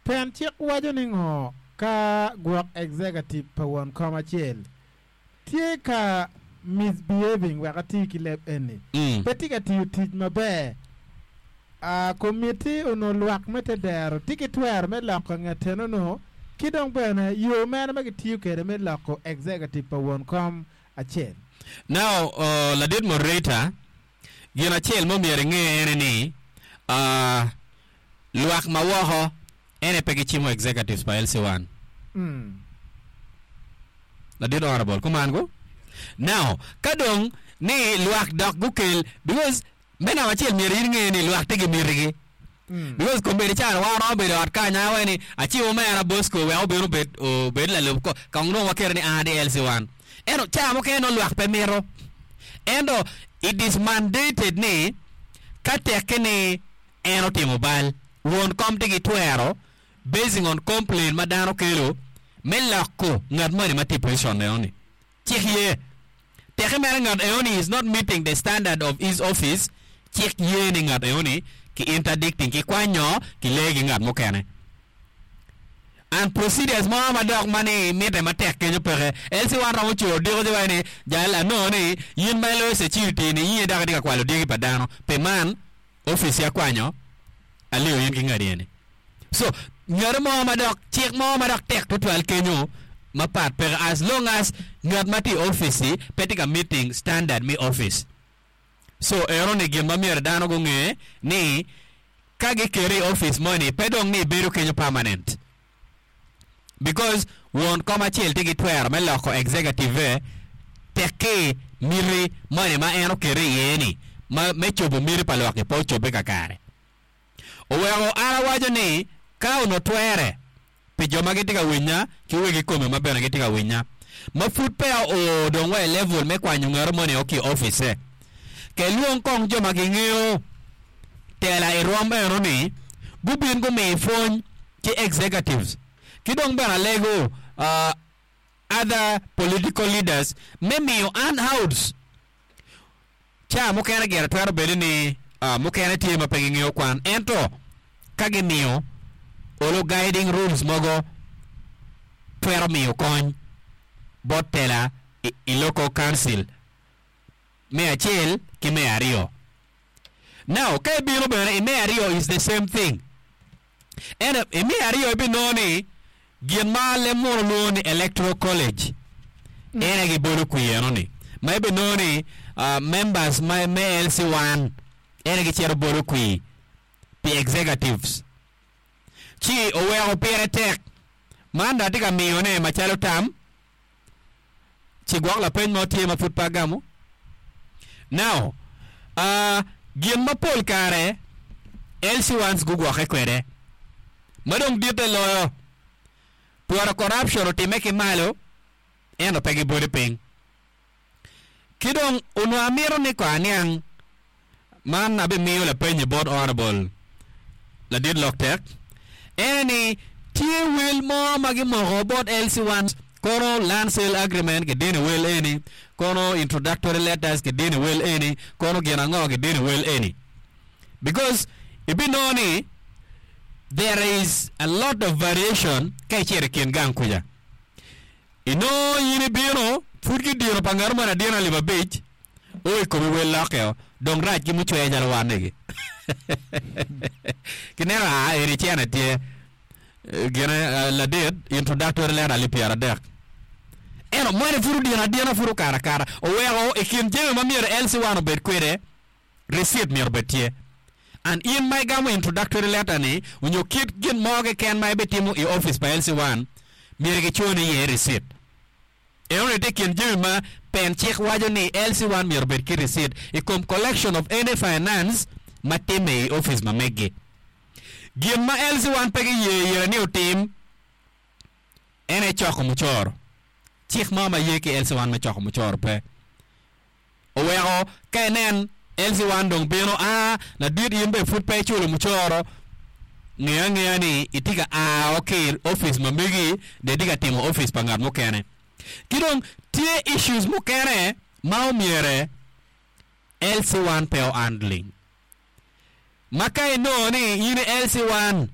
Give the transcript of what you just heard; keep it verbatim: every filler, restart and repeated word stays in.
Pen cik waco ni ngo ka gwok executive pa won kom acel tye ka misbehaving wek ati ki leb eni. Mm. Pe tye ka tiyo tic maber. Uh, komiti ono lwak me te dero tye ki twero me loko nget eno ki dong bene yo mene ma gitiyo kwede me loko executive pa won kom acel. Now, uh, ladit moderator, gin acel mo myero ing'e ene ni uh, lwak ma woko ene pe gicimo executives pa L C one. Mm. Ladit honorable, kuman go? Now, ka dong ni lwak dok gukel, because me namba acel myero in ing'e ni lwak tye gi mitigi. Mm. Because kombeddi caro wan romo bedo ot kany awe ni acibo mera Bosco wek obin obed obed lalub ko kong dong waketo ni an di L C one. Ento ca mukene nongo lwak pe mito. Ento it is mandated ni ka tekke ni en otimo bal, won kom tye ki twero basing on complaint ma dano kelo me loko ngat moni ma tye i position eno-ni. Cik ye. Teke mere ngat eno-ni is not meeting the standard of his office, cik ye ni ngat eno-ni ki interdicting, ki kwanyo, ki lee ki ngat mukene. And procedures mo ma dok ma ni mitte matek kenyo peke. L C one romo coro diko ci waco ni jal anongo ni in ma iloyo security ni in dok itye ka kwalo dyegi pa dano. Pi man, office ya kwanyo aliyo in ki ngati eni. So, ngati mo ma dok cik mo ma dok tek tutwal kenyo mapat peke as long as ngat ma tye i office pe tye ka meeting standard me office. So, eno ni gin ma myero dano gunge ni ka giketi i office moni pe dong ni ibedo kenyo permanent. Because won kom acel tye ki twero me loko executive tekki miti moni ma en okete iye ni ma me cobo miti pa lwak-ki pe ocobbe kakare. Oweko an awaco ni ka ono twere pi jo ma gitye ka winya ki wegi kome ma bene gitye ka winya ma pud peya oo dong wa i level me kwanyo ngati moni o ki i office ke lwong kong jo ma gingeo tela i rwom eno ni gubin gumi pwony ki executives ki dong bene alego uh, other political leaders me miyo handouts. Ca mukene gire twero bedo ni uh, mukene tye ma pe gingeo kwan, ento ka gimiyo olo guiding rules mogo twero miyo kony bot tela i, i local council me acel ki me aryo. Now, ka ibino bene i me aryo is the same thing. Ento i me aryo ibinongo ni gin ma leb muno lwongo ni electoral college en aye gibolo kwir eno ni ma ibinongo ni uh, members ma me L C one en aye gicito bolo kwir pi executives. Ci oweko pire tek man dong atye ka miyone macalo tam ci gwok lapeny mo tye ma pud pe agamo. Now, uh, gin ma pol kare L C ones gugwokke kwede ma dong ditte loyo twero corruption otimme ki malo ento pe gibolo piny. Ki dong onongo amito ni ko aniang man abimiyo lapenyi bot honorable ladit lok tek ene ni tye wel mo ma gimoko bot L C one kono land sale agreement kidino i wel eni, kono introductory letters kidino i wel eni, kono gin ango kidino i wel eni, because ibinongo ni there is a lot of variation ka icito i kin gang kuca inongo in ibino pud gidino pa ngat moni adina alip abic o i komi wel lokkeo dong rac ki mucwe calo wan egi kineno a eni cene tye gine eh, ladit introductory letter alip pyeradek ento moni pud odino adina pud okato akata. Oweko i kin jami ma myero L C one obed kwede, receipt myero obed tye. And in ma igamo introductory letter ni onyo kit gin mo keken ma ibitimo i office pa L C one myero giconi iye receipt. Eno ni tye i kin jami ma pen cik waco ni L C one myero obed ki receipt i kom collection of any finance ma timme i office ma meggi. Gin ma L C one pe giye yere ni otim en aye coko mucoro. Cik mo ma ye ki L C one me coko mucoro pe. Oweko ka inen L C one dong bino a ladit in be pud pe iculo mucoro, nge angeya ni itye ka a ki i office ma megi dong itye ka timo office pa ngat mukene. Ki dong tye issues mukene ma omyere L C one pe o handling. Ma ka inongo ni in i L C one